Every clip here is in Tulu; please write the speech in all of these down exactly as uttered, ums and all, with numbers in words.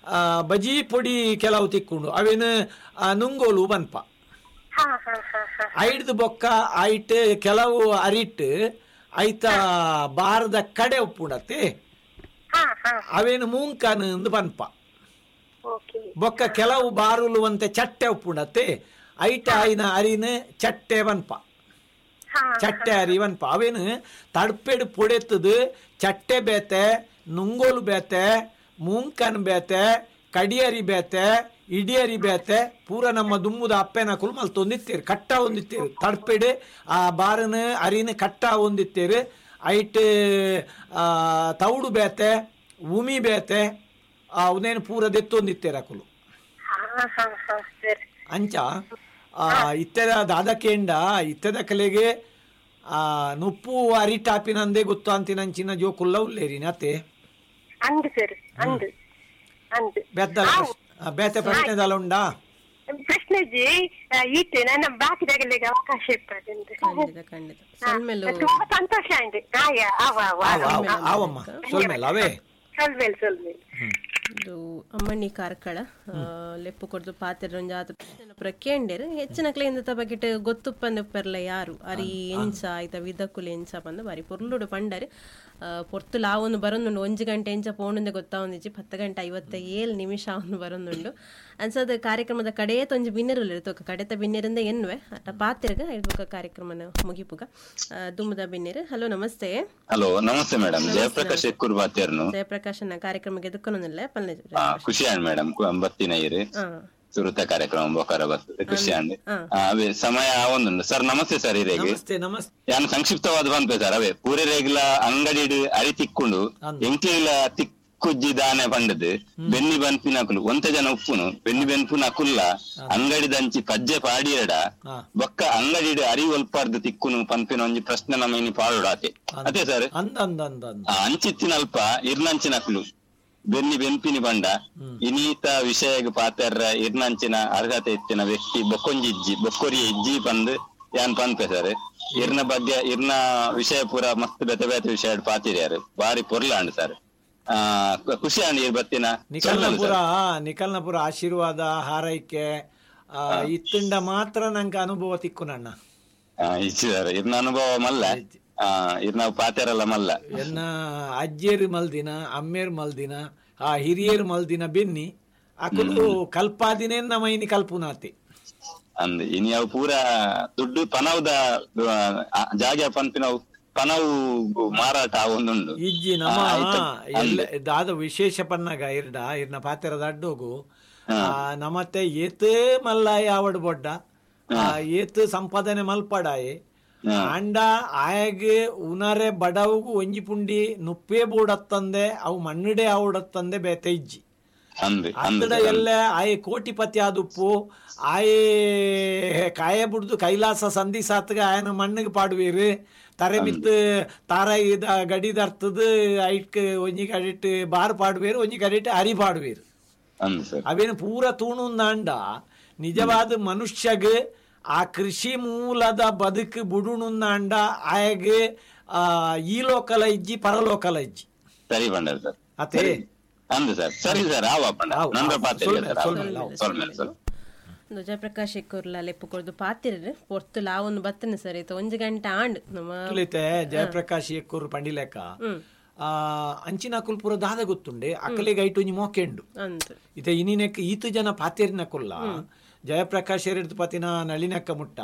ಆ, ಬಜಿ ಪೊಡಿ ಕೆಲವು ತಿಕ್ಕೊಂಡು ಅವೇನು ಆ, ನುಂಗೋಲು ಪನ್ಪ. ಹಾ ಹಾ ಹಾ ಹಾ ಐಡ್ದು ಬೊಕ್ಕ ಐಟ್ ಕೆಲವು ಅರಿಟ್ ಐತ ಬಾರದ ಕಡೆ ಉಪ್ಪುಂಡತ್ತೆ. ಹಾ ಹಾ ಅವೇನು ಮೂಂಕನ್ ಅಂದ್ ಪನ್ಪ. ಓಕೆ. ಬೊಕ್ಕ ಕೆಲವು ಬಾರುಲು ಅಂತೆ ಚಟ್ಟೆ ಉಪ್ಪುಂಡತ್ತೆ, ಐಟ ಐನ ಅರಿನ ಚಟ್ಟೆ ಪನ್ಪ. ಹಾ ಚಟ್ಟೆ ಅರಿ ಪನ್ಪ. ಅವೇನು ತಡ್ಪೆಡು ಪೊಡೆತ್ತದು ಚಟ್ಟೆ ಬೇತೆ, ನುಂಗೋಲು ಬೇತೆ, ಮೂಂಕನ್ ಬೇತೆ, ಕಡಿಯರಿ ಬೇತೆ, ಇಡಿಯರಿ ಬೇತೆ, ಪೂರ ನಮ್ಮ ದುಮ್ಮುದ ಅಪ್ಪೆನ ಕುಲ್ ಮಲ್ತೊಂದಿತ್ತೇರು, ಕಟ್ಟ ಹೊಂದಿತ್ತೇರು. ತಡ್ಪೆಡು ಆ ಬಾರನ ಅರಿನ ಕಟ್ಟ ಹೊಂದಿತ್ತೇರು. ಐಟ್ ಆ, ತೌಡು ಬೇತೆ, ಉಮಿ ಬೇತೆ, ಆ ಉನೇನು ಪೂರ ದೆತ್ತೊಂದಿತ್ತೇರು ಅಕುಲು. ಹಾ ಹಾ ಹಾ ಸರ್. ಅಂಚ ಆ, ಇತ್ತೆದ ದಾದಕೇಂಡ ಇತ್ತೆದ ಕಲೆಗೆ ಆ ನುಪ್ಪು ಅರಿಟಾಪಿನಂದೇ ಗೊತ್ತು ಅಂತಿನಂಚಿನ ಜೋಕುಲ್ಲ ಉಲ್ಲೇರಿನ ಅತ್ತೆ. ಅಂದು ಸರ್, ಅಂದು ಅಂದು. ಬೆತ್ತಲ ಪ್ರಶ್ನೆ- ಆ, ಬೇತೆ ಪ್ರಶ್ನೆದಲ್ಲ ಉಂಡಾ? ಪ್ರಶ್ನೆ ಜಿ ಈತೆ ನನ್ನ ಬಾಕಿದಾಗಲಿಗೆ ಅವಕಾಶ ಇರ್ತದೆ. ಖಂಡಿತ ಖಂಡಿತ ಸೊಲ್ಮೆಲು. ತುಂಬಾ ಸಂತೋಷ ಆಯ್ತು. ಆಯ ಅವ ಅವ ಆವ ಆವ ಆವಮ್ಮ ಸೊಲ್ಮೇಲ ಅವೇ. ಸೊಲ್ಮೇಲ್ ಸೊಲ್ಮೇಲ್. ಇದು ಅಮ್ಮಣ್ಣಿ ಕಾರ್ಕಳ ಆ, ಲೆಪ್ಪು ಕೊಡ್ದು ಪಾತ್ರೆ ಒಂಜಾತ ಪ್ರಶ್ನೆ ಪುರ ಕೇಂಡೇರು. ಹೆಚ್ಚಿನ ಕ್ಲೇಂದ ಬಗೆಟ್ ಗೊತ್ತುಪ್ಪಂದು ಪೆರ್ಲ ಯಾರು ಅರಿ ಎಂಚ ಆಯ್ತ ವಿದಕುಲು ಎಂಚ ಪಂದು ಬಾರಿ ಪೊರ್ಲುಡು ಪಂಡರು. ಪೊರ್ತು ಲಾವೊಂದು ಬರೊಂದುಂಡು. ಒಂಜಿ ಗಂಟೆ ಎಂಚ ಪೋಣುಂದೆ ಗೊತ್ತಾವೊಂದಿಜ್ಜಿ. ಪತ್ತು ಗಂಟೆ ಐವತ್ತ ಏಳು ನಿಮಿಷ ಅವನು ಬರೊಂದುಂಡು ಅನ್ಸದ. ಕಾರ್ಯಕ್ರಮದ ಕಡೆಯ ತೊಂಜಿ ಬಿನ್ನೆರುಲ್ಲೆರ್ ತೋಕ ಕಡೆತ ಬಿನ್ನೆರಿಂದ ಎನ್ನುವೆ ಅಟ ಪಾತ್ರೆಗ ಇಡ್ಬುಕ ಕಾರ್ಯಕ್ರಮನ ಮುಗಿಪುಗ. ಆ, ದುಮ್ಮದ ಬಿನ್ನೆರು. ಹಲೋ, ನಮಸ್ತೆ. ಹಲೋ, ನಮಸ್ತೆ ಮೇಡಮ್. ಜಯಪ್ರಕಾಶ್ ಎಕ್ಕೂರ್ ಬಾತೇರ್ನು. ಜಯಪ್ರಕಾಶನ ಕಾರ್ಯಕ್ರಮಕ್ಕೆ ಎದುಕೊನೊಂದಿಲ್ಲ ಪಲ್ಲೆ. ಆ, ಖುಷಿ ಆಂಡ್ ಮೇಡಮ್, ಬತ್ತಿನ ಇರು ಹಾ ಸುರುತ ಕಾರ್ಯಕ್ರಮ ಬೊಕಾರ ಬರ್ತದೆ, ಖುಷಿ ಆಂಡ್. ಹಾ. ಆ, ಅವೇ ಸಮಯ ಒಂದುಂಡು ಸರ್. ನಮಸ್ತೆ ಸರ್ ಹಿರೇಗೆ. ನಮಸ್ತೆ ನಮಸ್ತೆ. ಯಾನ್ ಸಂಕ್ಷಿಪ್ತವಾದ ಪನ್ಪೆ ಸರ್. ಅವೇ ಪೂರೆ ರೇಗ್ಲ ಅಂಗಡಿಡ್ ಅರಿ ತಿಕ್ಕೊಂಡು ಅಂದ್. ಎಂಕ್ಲಿಲ ತಿಕ್ಕುಜ್ಜಿ ದಾನೆ ಪಂಡದು ಬೆನ್ನಿ ಬನ್ಪಿನಕುಲು ಒಂತೆ ಜನ ಉಪ್ಪುನು ಬೆನ್ನಿ ಬೆನ್ಪುನ ಅಕುಲ್ಲ ಅಂಗಡಿದಂಚಿ ಪಜ್ಜೆ ಪಾಡಿಯಡ ಹಾ. ಬೊಕ್ಕ ಅಂಗಡಿಡ್ ಅರಿ ಒಲ್ಪಾರ್ದು ತಿಕ್ಕುನು ಪನ್ಪಿನ ಒಂಜಿ ಪ್ರಶ್ನೆ ನಮ್ಮ ಇನಿ ಪಾಡೋಡು ಆತೆ ಅದೇ ಸರ್. ಅಂದ ಅಂದ ಅಂದ ಅಂದ. ಆ ಅಂಚಿತ್ತಿನಲ್ಪ ಇರ್ನಂಚಿನಕ್ಲು ಬೆನ್ನಿ ಬೆನ್ಪಿನಿ ಬಂಡ ಇನೀತ ವಿಷಯಗ್ ಪಾತೆರ್ರ ಇರ್ನಂಚಿನ ಅರ್ಹತೆ ಇತ್ತಿನ ವ್ಯಕ್ತಿ ಬೊಕ್ಕೊಂಜಿ ಇಜ್ಜಿ ಬೊಕ್ಕೊರಿಯ ಇಜ್ಜಿ ಪಂದ್ ಯಾನ್ ಪನ್ಪೆ ಸರ್. ಇರ್ನ ಬಗ್ಗೆ ಇರ್ನ ವಿಷಯ ಪೂರ ಮಸ್ತ್ ಬೇತೆ ಬೇತೆ ವಿಷಯ ಪಾತಿರ್ಯಾರು, ಬಾರಿ ಪೊರ್ಲಾಂಡ್ ಸರ್. ಆ ಖು- ಖುಷಿ ಆಂಡ್ ಇರ್ ಬತ್ತಿನ. ನಿಖಲ್ನಪುರ ನಿಖಲ್ನಪುರ ಆಶೀರ್ವಾದ ಹಾರೈಕೆ ಆ, ಇತ್ತುಂಡ ಮಾತ್ರ ನಂಗೆ ಅನುಭವ ತಿಕ್ಕು ನಣ್ಣ. ಇಜ್ಜಿ ಸರ್, ಇರ್ನ ಅನುಭವ ಮಲ್ಲ. ಆ ಇರ್ನ ಪಾತೆರಲ್ಲ ಮಲ್ಲ. ಎನ್ನ ಅಜ್ಜೇರು ಮಲ್ದಿನ, ಅಮ್ಮೇರು ಮಲ್ದಿನ, ಆ ಹಿರಿಯರು ಮಲ್ದಿನ ಬೆನ್ನಿ ಅಕುಲು ಕಲ್ಪಾದಿನೇ ನಮ್ಮ ಇನಿ ಕಲ್ಪುನಾತಿ. ಅಂದ್ ಇನಿ ಅವು ಪೂರ ದುಡ್ಡು ಪನವುದ ಆ, ಜಾಗೆ ಪನ್ಪಿನವು ಪನವು ಮಾರಾಟ ಒಂದುಂಡು. ಇಜ್ಜಿ ನಮ್ಮ ಆ, ಆಯ್ತು. ಎಲ್ಲ ದಾದ ವಿಶೇಷ ಪನ್ನಗ ಇರ್ಡ ಇರ್ನ ಪಾತೆರದ ಅಡ್ಡೋಗು ಆ, ನಮತ್ತೆ ಏತ್ ಮಲ್ಲಾಯ ಆವಡ್ ಬೊಡ್ಡ, ಆ, ಏತ್ ಸಂಪಾದನೆ ಮಲ್ಪಡಾಯೆ ಆಂಡ ಆಯಗ್ ಉನರೆ ಬಡವುಗು ಒಂಜಿ ಪುಂಡಿ ನುಪ್ಪೇ ಬೋಡತ್ತಂದೆ ಅವು ಮಣ್ಣುಡೆ ಆವಡತ್ತಂದೆ ಬೇತೆ ಇಜ್ಜಿ. ಅಂದ್ ಅಂದ್. ಅತ್ತಡ ಎಲ್ಲ ಆಯೆ ಕೋಟಿಪತಿ ಆದುಪ್ಪು ಆಯೆ ಕಾಯ ಬುಡ್ದು ಕೈಲಾಸ ಸಂಧಿ ಸಾತ್ಗ ಆಯನ ಮಣ್ಣಿಗೆ ಪಾಡುವೀರು ತರೆ ಮಿತ್ತು ತಾರ ಇದ ಗಡಿದರ್ತದ ಐಟ್ ಒಂಜಿ ಕಡಿಟ್ ಬಾರ್ ಪಾಡುವೀರು, ಒಂಜಿ ಕಡಿಟ್ ಅರಿ ಪಾಡುವೀರು. ಅಂದ್ ಸರ್. ಅವೇನು ಪೂರ ತೂಣುಂದಾಂಡ ನಿಜವಾದ ಮನುಷ್ಯಗ್ ಆ ಕೃಷಿ ಮೂಲದ ಬದುಕು ಬುಡುಣುಂದಾಂಡ ಆಯಗ್ ಆ, ಈ ಲೋಕಲ ಇಜ್ಜಿ ಪರಲೋಕಲ ಇಜ್ಜಿ. ಸರಿ ಪಂಡರ್ ಸರ್. ಅತೆ. ಅಂದ್ ಸರ್, ಸರಿ ಸರ್, ಆವ ಪಂಡ. ಆವು, ನಂದ್ರ ಆವು. ಪಾತೆರಿಯ ಸೊಲ್ಮೆಲೆ, ಸರ್, ಆವು. ಸೊಲ್ಮೆಲೆ, ಆವು. ಸೊಲ್ಮೆಲೆ ಸರ್. ಒಂದು ಜಯಪ್ರಕಾಶ್ ಎಕ್ಕೂರ್ಲ ಲೆಪ್ಪು ಕೊರ್ದು ಪಾತಿರ್ರು. ಪೊರ್ತು ಲಾವೊಂದು ಬತ್ತನೆ ಸರ್. ಇತ್ತ ಒಂಜಿ ಗಂಟೆ ಆಂಡ್ ನಮ್ಮ. ತುಲಿತೆ ಜಯಪ್ರಕಾಶ್ ಎಕ್ಕೂರು ಪಂಡಿಲೆಕ್ಕ ಆ ಅಂಚಿನ ಕುಲ್ಪುರ ದಾದ ಗೊತ್ತುಂಡೆ ಅಕಲಿಗೆ ಐಟು ಒಂಜಿ ಮೋಕೆಂಡು. ಅಂದ್. ಇತ್ತೆ ಇನಿನೆಕ್ ಈತು ಜನ ಪಾತೇರಿನ ಕುಲ್ಲ ಜಯಪ್ರಕಾಶ್ ಎರೆಡ್ದು ಪತಿನ ನಳಿನಕ್ಕ ಮುಟ್ಟ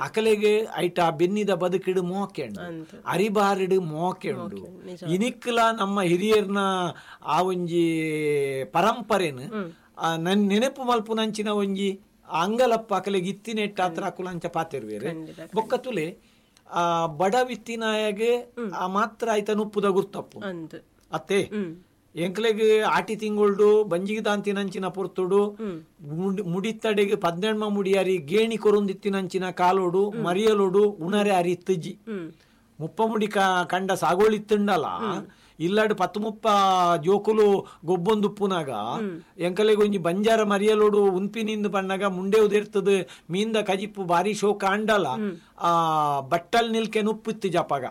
ಅಕಲೆಗೆ ಐಟ ಬೆನ್ನಿದ ಬದುಕಿಡು ಮೋಕೆಂಡು, ಅರಿಬಾರಿಡು ಮೋಕೆಂಡು. ಇನಿಕ್ಲ ನಮ್ಮ ಹಿರಿಯರ್ನ ಆ ಒಂಜಿ ಪರಂಪರೆನು ಆ ನನ್ ನೆನಪು ಮಲ್ಪುನಂಚಿನ ಒಂಜಿ ಅಂಗಲಪ್ಪ ಅಕಲೆಗೆ ಇತ್ತಿನೆಟ್ಟ ಆತ್ರ ಅಕುಲ ಅಂಚ ಪಾತೆರುವೆರು. ಬೊಕ್ಕ ತುಲೆ ಆ ಬಡವಿತ್ತಿನಾಯಗೆ ಆ ಮಾತ್ರ ಆಯ್ತ ನುಪ್ಪುದ ಗುರ್ತಪ್ಪು. ಅಂದ್. ಅತ್ತೆ ಎಂಕ್ಲೆಗ್ ಆಟಿ ತಿಂಗುಳ್ಡು ಬಂಜಿಗೆ ದಾಂತಿನಂಚಿನ ಪೊರ್ತುಡು ಮುಡಿ- ಮುಡಿತ್ತಡೆಗೆ ಪದ್ನೆಣ್ಮ ಮುಡಿಯಾರಿ ಗೇಣಿ ಕೊರುಂದಿತ್ತಿನಂಚಿನ ಕಾಲೋಡು ಮರಿಯಲೋಡು ಉಣರೆ ಅರಿ ಇತ್ತುಜ್ಜಿ. ಮುಪ್ಪ ಮುಡಿ ಕ- ಕಂಡ ಸಾಗೋಳಿತ್ತುಂಡಲ. ಇಲ್ಲಡ್ ಪತ್ತು ಮುಪ್ಪ ಜೋಕುಲು ಗೊಬ್ಬೊಂದುಪ್ಪುನಾಗ ಎಂಕಲೆಗ್ ಒಂಜಿ ಬಂಜಾರ ಮರಿಯಲೋಡು ಉನ್ಪಿನಿಂದ ಪಣ್ಣಾಗ ಮುಂಡೆ ಉದಿರ್ತದ ಮೀನ್ದ ಕಜಿಪ್ಪು ಬಾರಿ ಶೋಕ ಅಂಡಲ ಆ ಬಟ್ಟಲ್ ನಿಲ್ಕೆ ನುಪ್ಪಿತ್ತು ಜಪಾಗ.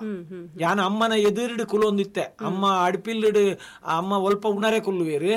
ಯಾನ ಅಮ್ಮನ ಎದುರುಡು ಕುಲೊಂದಿತ್ತೆ, ಅಮ್ಮ ಅಡ್ಪಿಲ್ಲುಡು ಅಮ್ಮ ಒಲ್ಪ ಉಣರೆ ಕುಲ್ಲುವೇರು.